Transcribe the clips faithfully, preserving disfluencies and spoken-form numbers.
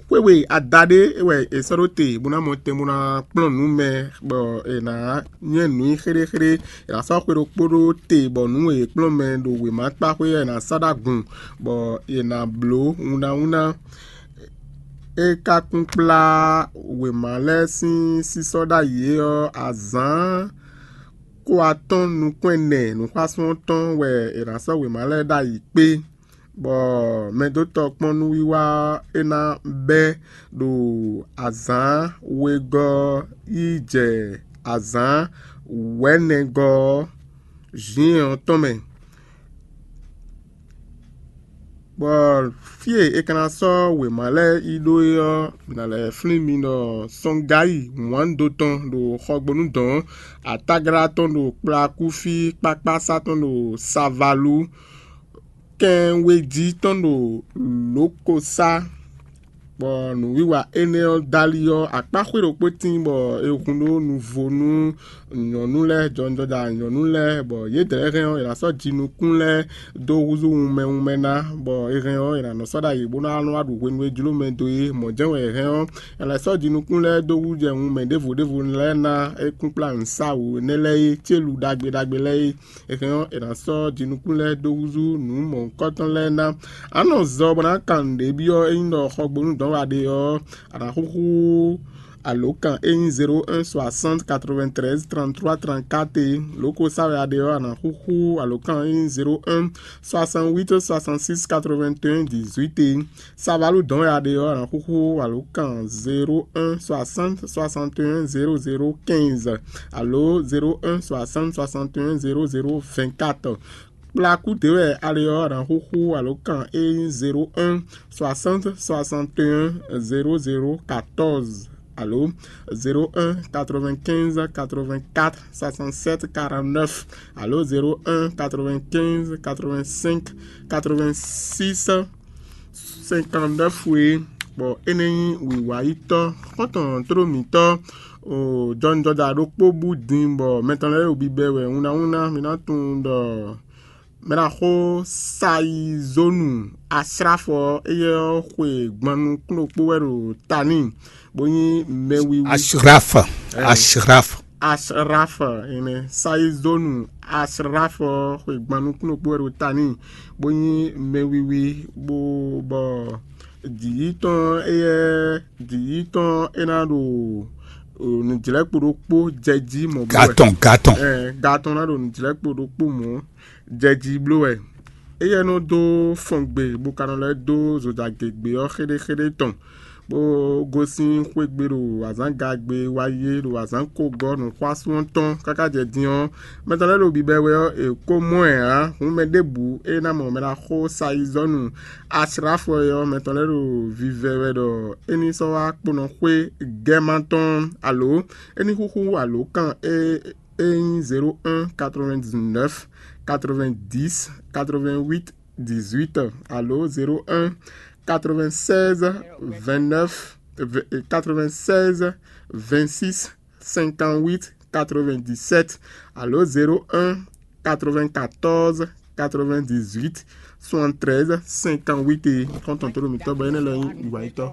Xwéwe adaɖé wɛ è sɔ́ ɖó te bó ná mɔ tɛn bó ná kplɔ́n nǔ mɛ, bɔ è nǎ nyɛ́ nǔ nyi xéɖéxéɖé. È nǎ sɔ́ xwe ɖokpó ɖó te bɔ nǔ e è kplɔ́n mɛ ɖo wěmakpáxwé ɔ́, è nǎ sá ɖó agun, bɔ è nǎ bló wunnáwunná. É ka kún kplá wěma lɛ́ɛ sín sísɔ́ ɖ'ayǐ é ɔ́, azǎn ko atɔ́ɔ́n nukún ɛnɛ nǔxwásún ɔ́ tɔn wɛ è nǎ sɔ́ wěma lɛ́ɛ ɖ'ayǐ kpé, bɔ mɛdótɔ́ kpɔ́n nǔwiwa ɔ́, é ná bɛ́ ɖo azǎn wegɔ́ ɔ́ yi jɛ azǎn wɛ̌nɛgɔ́ ɔ́, zǐn ɔ́ tɔn mɛ. Bɔ fí e è ka ná sɔ́ wěma lɛ́ɛ yi ɖó é ɔ́, mǐ ná lɛ́ flín mi ɖɔ sɔ́ngayi wǎndo tɔn ɖo xɔgbónú dɔ̌n, atáglá tɔn ɖo kplakúfí, kpákpásá tɔn ɖo savalú, kɛnwéjí tɔn ɖo lǒkosá. Bɔ nǔwiwa énɛ́ ɔ́ dali ɔ́, akpá xwé ɖokpó tíin bɔ è hun ɖó nuvo nú nyɔ̌nu lɛ́ɛ, jɔnjɔja nyɔ̌nu lɛ́ɛ, bɔ yědɛɛ hɛn ɔ́, è nǎ sɔ́ jinukún lɛ́ɛ dó húzú wunmɛ wunmɛ ná, bɔ è hɛn ɔ́, è nǎ nɔ sɔ́ ɖ'ayǐ bó ná nɔ wá ɖu hwenu e jló mɛ dó é. Mɔ̌ jɛ́n wɛ è hɛn ɔ́, è nǎ sɔ́ jinukún lɛ́ɛ dó hú jɛ wunmɛ ɖěvo ɖěvo lɛ́ɛ ná, é kún kplá nǔsáwǔ énɛ́ lɛ́ɛ é, célu ɖagbe ɖagbe lɛ́ɛ é. È hɛn ɔ́, è nǎ sɔ́ jinukún lɛ́ɛ dó húzú nǔ mɔ̌hunkɔtɔn lɛ́ɛ ná. A nɔ zɔ bɔ ná kan nǔɖé byɔ́ ényí ɖɔ xɔgbónú dɔn wɛ a ɖe ɔ́, a nǎ xúxú alǒkan ényí zéro un soixante quatre-vingt-treize trente-trois trente-quatre é. Lǒ ko sa wɛ a ɖe ɔ́, a nǎ xúxú alǒkan ényí zéro un soixante-huit soixante-six quatre-vingt-un dix-huit é. Savalú dɔn wɛ a ɖe ɔ́, a nǎ xúxú alǒkan zéro un soixante soixante et un zéro zéro quinze alo zéro un soixante soixante et un zéro zéro vingt-quatre. Kplakú ɖě wɛ a ɖe ɔ́, a nǎ xúxú alǒkan ényí zéro un soixante soixante et un zéro zéro quatorze alo zéro un quatre-vingt-quinze quatre-vingt-quatre soixante-sept quarante-neuf alo zéro un quatre-vingt-quinze quatre-vingt-cinq quatre-vingt-six cinquante-neuf é. Bɔ énɛ́ nyí wǐwáyítɔ́ xɔ́ntɔn tló mǐtɔn jɔnjɔja ɖokpó bú din, bɔ mɛ tɔn lɛ́ɛ ɖo bibɛ wɛ wunnáwunná. Mi ná tunwun ɖɔ mɛ ná xó sayizónu asráfɔ ɔ́, éyɛ́ ɔ́ xwe gban nukún ɖokpó wɛ ɖo ta n'i, bó nyí mɛwiwi. Ashraf. Ashraf. Ashraf ene, sayizónu Ashraf ɔ́ xwe gban nukún ɖokpó wɛ ɖo ta n'i, bó nyí mɛwiwi, bó bɔ jǐ yítɔn éyɛ́ jǐ yítɔn é ná ɖo nǔjlɛ́kpo ɖokpó jɛ jí mɔ̌ bló wɛ. Gatɔn gatɔn. Gatɔn ná ɖo nǔjlɛ́kpo ɖokpó mɔ̌ jɛ jí bló wɛ. Éyɛ́ nɔ dó fɔngbe bó ka nɔ lɛ́ dó zojagěgbe ɔ́ xéɖéxéɖé tɔn, bó gosín xwé gbe ɖo azǎngagbe wá yé ɖo azǎn ko gɔ́ nǔxwásún ɔ́ tɔn káká jɛ din ɔ́, mɛ tɔn lɛ́ɛ ɖo bibɛ wɛ ɔ́, è ko mɔ ɛ ǎ. Hǔn mɛ ɖěbǔ e ná mɔ mɛ ná xó sayizɔ́nu asráfɔ é ɔ́, mɛ tɔn lɛ́ɛ ɖo vivɛ wɛ ɖɔ é ní sɔ́ wá kponɔ xwé gɛ́ma tɔn alo é ní xúxú alǒkan e é nyí zéro un quatre-vingt-dix-neuf quatre-vingt-dix quatre-vingt-huit dix-huit alo zéro un quatre-vingt-seize vingt-neuf quatre-vingt-seize vingt-six cinquante-huit quatre-vingt-dix-sept alo zéro un quatre-vingt-quatorze quatre-vingt-dix-huit soixante-treize cinquante-huit é. Xɔ́ntɔn tó ɖo mǐtɔn bɔ énɛ́ lɛ́ɛ nyí wǐwáyítɔ́.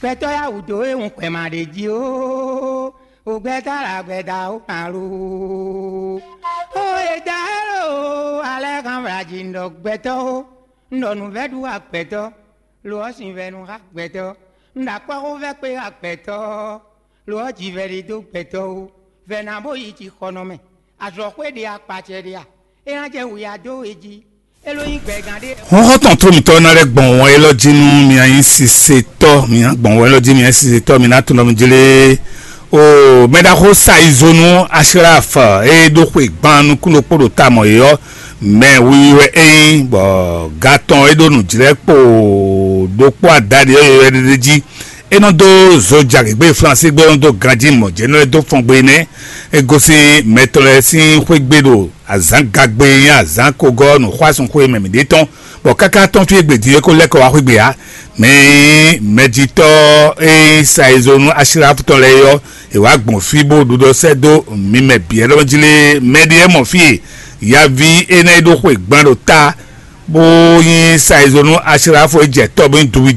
Gbɛtɔ́ yá wǔ dó e hùn gbɛmɛ ɖě jí ó, o gbɛtɔ́ la gbɛda ó kan lo. Ó e da é lo alɛ kan wla jí un ɖɔ gbɛtɔ́ ó, un ɖɔ nǔvɛ́ ɖu wá gbɛtɔ́, lo ɔ́ sin vɛ́ nu xá gbɛtɔ́, un ɖo akpɔ́xóvɛ́ kpé xá gbɛtɔ́, lo ɔ́ jivɛ ɖé dó gbɛtɔ́ ó, vɛ̌ ná bó yi jixɔnɔ mɛ. Azɔ̌xwé ɖe a, kpacɛ ɖe a? É ná jɛ wǔya dó we jí. É ló nyí gbɛgán ɖé. Xɔ́ntɔn tó mǐtɔn ná lɛ́ gbɔn wɔn élɔ́ jí nú mi nyí sisetɔ́, mi ná gbɔn wɔn élɔ́ jí mi nyí sisetɔ́, mi ná tunwun ɖɔ mi jlé. O mɛɖaxó sayizonu Ashraf e ɖó xwe gban nukún ɖokpó ɖo ta mɔ̌ é ɔ́, mɛ wiwi wɛ é nyí, bɔ gatɔn e ɖó nǔjlɛ́kpo ɖokpó adaɖé ɔ́ yɔywɛ ɖé jí. É nɔ dó zo jagěgbe Flánsi gbé, é nɔ dó ganjí mɔ̌ jɛ, é nɔ lɛ́ dó fɔngbe nɛ́. É gosín mɛ tɔn lɛ́ɛ sín xwé gbe ɖo azǎn gagbe e nyí azǎn kogɔ́ nǔxwásúnxwé mɛ mǐɖée tɔn, bɔ káká tɔ́n fí e gbe din é ko lɛ́ kɔ wá xwé gbe ǎ. Mɛ e nyí mɛjitɔ́ e nyí sayizonu Ashlafu tɔn lɛ́ɛ é ɔ́, è wǎ gbɔn fí bó ɖu ɖɔ sɛ́ dó mi mɛ bǐ. Ɛlɔ́ jí lé, mɛ ɖé mɔ fí e yaví énɛ́ e ɖó xwe gban ɖo ta, bó nyí sayizonu Ashlafu e jɛ tɔ́ bó nyí duwídó.